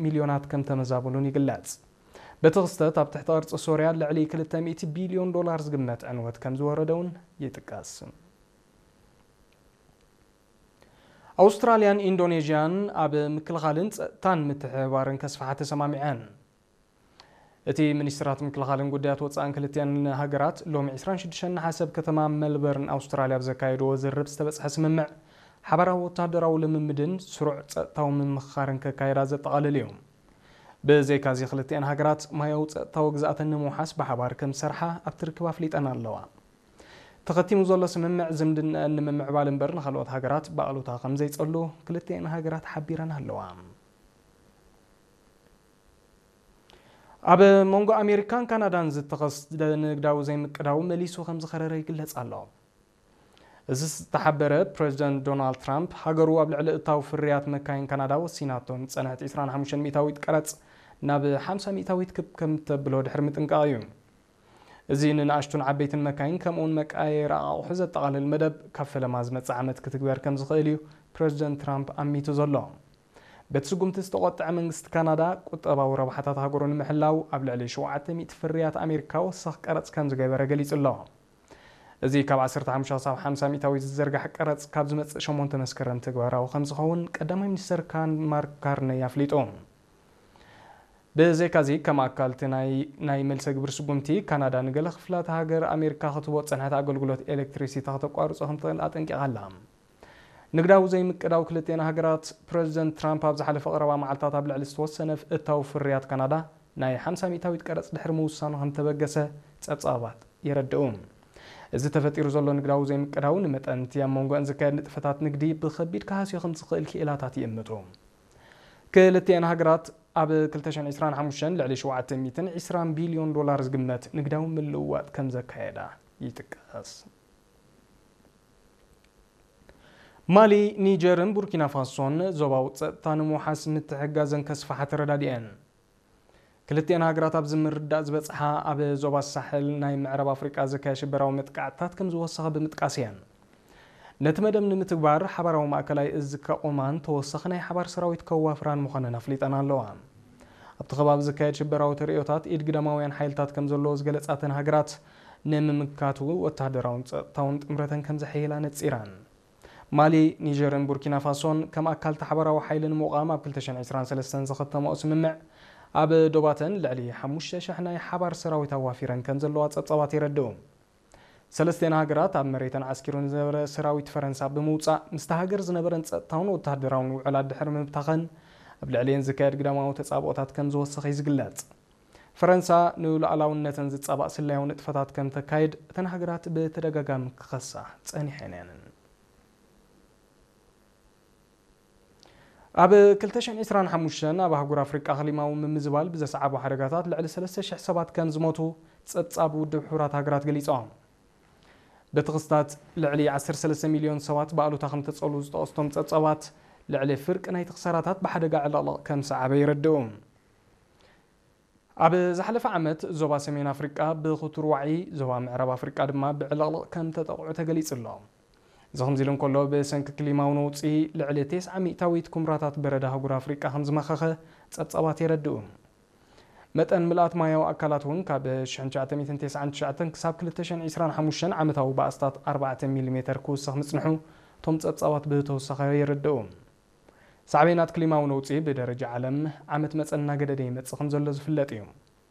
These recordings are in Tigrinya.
ሚልዮናት ከም ተመዛበሉን ይግለጽ። በቲ ክስተት ኣብ ትሕቲ ቅርጺ ሶርያ ልዕሊ ክልተ ሚእቲ ቢልዮን ዶላር ዝግመት ዕንወት ከም ዝወረደ እውን ይጥቀስ። ኣውስትራልያን ኢንዶኔዥያን ኣብ ምክልኻልን ጸጥታን ምትሕብባርን ከስፍሓ ተሰማሚዐን። እቲ ሚኒስትራት ምክልኻልን ጉዳያት ወጻእን ክልቲኣን ሃገራት ሎሚ ዕስራን ሽዱሽተን ነሓሰ ኣብ ከተማ ሜልበርን ኣውስትራልያ ኣብ ዘካየድዎ ዝርርብ ዝተበጽሐ ስምምዕ ሓባራዊ ወታደራዊ ልምምድን ስሩዕ ጸጥታዊ ምምኽኻርን ከካየዳ ዘጠቓልል እዩ። ብዘይካዚ ክልቲኣን ሃገራት ማያዊ ጸጥታዊ ግዝኣተን ንምውሓስ ብሓባር ከም ዝሰርሓ ኣብቲ ርክብ ኣፍሊጠን ኣለዋ። ተኸቲሙ ዘሎ ስምምዕ ዝምድናኣን ንምምዕባል እምበር ንኻልኦት ሃገራት ብኣሉታ ከም ዘይጸሉ ክልቲኣን ሃገራት ሓቢረን ኣለዋ። ኣብ መንጎ ኣሜሪካን ካናዳን ዝተኸስተ ንግዳዊ ዘይምቅዳው መሊሱ ከም ዝኸረረ ይግለጽ ኣሎ። እዚ ዝተሓበረ ፕሬዚደንት ዶናልድ ትራምፕ ሃገሩ ኣብ ልዕሊ እታው ፍርያት መካይን ካናዳ ወሲናቶ ንጸንሐት ዕስራን ሓሙሽተን ሚእታዊት ቀረጽ ናብ ሓምሳ ሚእታዊት ክብ ከም ተብሎ ድሕሪ ምጥንቃቕ እዩ። እዚ ንንኣሽቱን ዓበይትን መካይን ከምኡውን መቀያየሪ ኣቑሑ ዘጠቓልል መደብ ካብ ፈለማ ዝመጽእ ዓመት ክትግበር ከም ዝኽእል እዩ ፕሬዚደንት ትራምፕ ኣሚቱ ዘሎ። በቲ ስጉምቲ ዝተቖጥዐ መንግስቲ ካናዳ ቁጠባዊ ረብሓታት ሃገሩ ንምሕላው ኣብ ልዕሊ ሸውዓተ ሚእቲ ፍርያት ኣሜሪካ ወሰኽ ቀረጽ ከም ዝገበረ ገሊጹ ኣሎ። እዚ ካብ ዓሰርተ ሓሙሽተ ክሳብ ሓምሳ ሚእታዊት ዝዝርጋሕ ቀረጽ ካብ ዝመጽእ ሸሞንተ መስከረም ተግባራዊ ከም ዝኸውን ቀዳማይ ሚኒስተር ካን ማርክ ካርነይ ኣፍሊጡ። ብዘይካዚ ከም ኣካል እቲ ናይ ናይ መልሰ ግብሪ ስጉምቲ ካናዳ ንገለ ክፍላት ሃገር ኣሜሪካ ክትህቦ ዝጸንሐት ኣገልግሎት ኤሌክትሪሲቲ ከተቋርጾ ከም ትኽእል ኣጠንቂቓ ኣላ። ንግዳዊ ዘይምቅዳው ክልቲኣን ሃገራት ፕሬዚደንት ትራምፕ ኣብ ዝሓለፈ ቀረባ መዓልታት ኣብ ልዕሊ ዝተወሰነ እታዊ ፍርያት ካናዳ ናይ ሓምሳ ሚእታዊት ቀረጽ ድሕሪ ምውሳኑ ከም ተበገሰ ጸብጻባት የረድኡ። እዚ ተፈጢሩ ዘሎ ንግዳዊ ዘይምቅዳው ንመጠን እቲ ኣብ መንጎኣን ዝካየድ ንጥፈታት ንግዲ ብኸቢድ ክሃስዮ ከም ዝኽእል ክኢላታት ይእምቱ። ክልቲኣን ሃገራት ኣብ ክልተ ሽሕን ዕስራን ሓሙሽተን ልዕሊ ሸውዓተ ሚእትን ዕስራን ቢልዮን ዶላር ዝግመት ንግዳዊ ምልውዋጥ ከም ዘካየዳ ይጥቀስ። ማሊ፣ ኒጀርን ቡርኪና ፋሶን ዞባዊ ጸጥታ ንምውሓስ ምትሕጋዘን ከስፍሓ ተረዳዲኤን። ክልቲኣን ሃገራት ኣብዚ ምርዳእ ዝበጽሓ ኣብ ዞባ ሳሕል ናይ ምዕራብ ኣፍሪቃ ዝካየድ ሽበራዊ መጥቃዕትታት ከም ዝወሰኸ ብምጥቃስ እየን። ነቲ መደብ ንምትግባር ሓባራዊ ማእከላይ እዝ ከቑማን ተወሳኺ ናይ ሓባር ሰራዊት ከዋፍራን ምዃነን ኣፍሊጠን ኣለዋ። ኣብቲ ከባቢ ዝካየድ ሽበራዊ ተርእዮታት ኢድ ግዳማውያን ሓይልታት ከም ዘለዎ ዝገለጻ እተን ሃገራት ንምምካቱ ወተሃደራውን ጸጥታውን ጥምረተን ከም ዘሐይላ ነጺረን። ማሊ፣ ኒጀርን ቡርኪና ፋሶን ከም ኣካል እቲ ሓባራዊ ሓይሊ ንምቋም ኣብ ክልተ ሽሕን ዕስራን ሰለስተን ዝኸተመኦ ስምምዕ ኣብ ዶባተን ልዕሊ ሓሙሽተ ሽሕ ናይ ሓባር ሰራዊት ኣዋፊረን ከም ዘለዋ ጸብጻባት የረድኡ። ሰለስቴን ሃገራት ኣብ መሬተን ዓስኪሩ ንዝነበረ ሰራዊት ፈረንሳ ብምውጻእ ምስቲ ሃገር ዝነበረን ጸጥታውን ወተሃደራውን ውዕላት ድሕሪ ምብታኸን ኣብ ልዕሊኤን ዝካየድ ግዳማዊ ተጻብኦታት ከም ዝወሰኸ እዩ ዝግለጽ። ፈረንሳ ንሉዓላውነተን ዝጻባእ ስለያዊ ንጥፈታት ከም ተካይድ እተን ሃገራት ብተደጋጋሚ ክኸሳ ጸኒሐን እየን። ኣብ ክልተ ሽሕን ዕስራን ሓሙሽተን ኣብ ኣህጉር ኣፍሪቃ ክሊማዊ ምምዝባል ብዘስዓቦ ሓደጋታት ልዕሊ ሰለስተ ሽሕ ሰባት ከም ዝሞቱ ጸብጻብ ውድብ ሕቡራት ሃገራት ገሊጾም። በቲ ክስታት ልዕሊ ዓሰርተ ሰለስተ ሚልዮን ሰባት ብኣሉታ ከም ተጸሉ ዝጠቐስቶም ጸብጻባት ልዕሊ ፍርቂ ናይቲ ክሳራታት ብሓደጋ ዕልቕልቕ ከም ሰዓበ ይረድኡ። ኣብ ዝሓለፈ ዓመት ዞባ ሰሜን ኣፍሪቃ ብክቱር ዋዒ፣ ዞባ ምዕራብ ኣፍሪቃ ድማ ብዕልቕልቕ ከም ተጠቕዑ ተገሊጹ ኣሎ። እዚ ከምዚ ኢሉ እንከሎ ብሰንኪ ክሊማዊ ነውጺ ልዕሊ ተስዓ ሚእታዊት ኩምራታት በረድ ኣህጉር ኣፍሪቃ ከም ዝመኸኸ ጸብጻባት የረድኡ። መጠን ምልኣት ማያዊ ኣካላት እውን ካብ ሽሕን ትሽዓተ ሚእትን ተስዓን ትሽዓተን ክሳብ ክልተ ሽሕን ዕስራን ሓሙሽተን ዓመታዊ ባእስታት ኣርባዕተ ሚሊሜተር ክውስኽ ምጽንሑ እቶም ጸብጻባት ብተወሳኺ የረድኡ። ሳዕቤናት ክሊማዊ ነውጺ ብደረጃ ዓለም ዓመት መጸ እናገደደ ይመጽእ ከም ዘሎ ዝፍለጥ እዩ።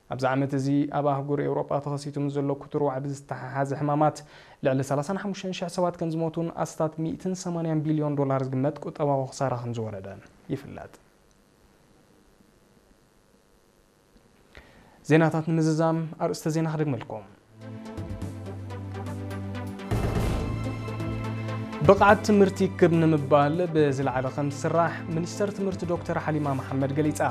ኣብዚ ዓመት እዚ ኣብ ኣህጉር ኤውሮጳ ተኸሲቱ ምስ ዘሎ ክቱር ዋዕቢ ዝተሓሓዘ ሕማማት ልዕሊ ሰላሳን ሓሙሽተን ሽሕ ሰባት ከም ዝሞቱን ኣስታት ሚእትን ሰማንያን ቢልዮን ዶላር ዝግመት ቁጠባዊ ክሳራ ከም ዝወረደ ይፍለጥ። ዜናታት ንምዝዛም ኣርእስተ ዜና ክደግመልኩም። ብቕዓት ትምህርቲ ክብ ንምባል ብዝለዓለ ከም ዝስራሕ ሚኒስተር ትምህርቲ ዶክተር ሓሊማ መሓመድ ገሊጻ።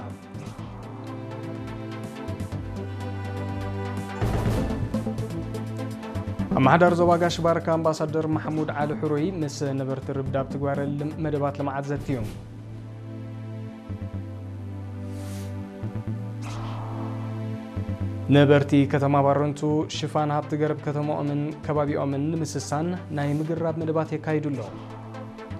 ኣመሓዳሪ ዞባ ጋሽ ባርካ ኣምባሳደር ማሕሙድ ዓሊ ሕሩይ ምስ ነበርቲ ርብዳብ ትግባረ ልም-፣ መደባት ልምዓት ዘትዩ። ነበርቲ ከተማ ባረንቱ ሽፋን ሃብቲ ገረብ ከተማኦምን ከባቢኦምን ንምስሳን ናይ ምግራብ መደባት የካይዱ ኣለዉ።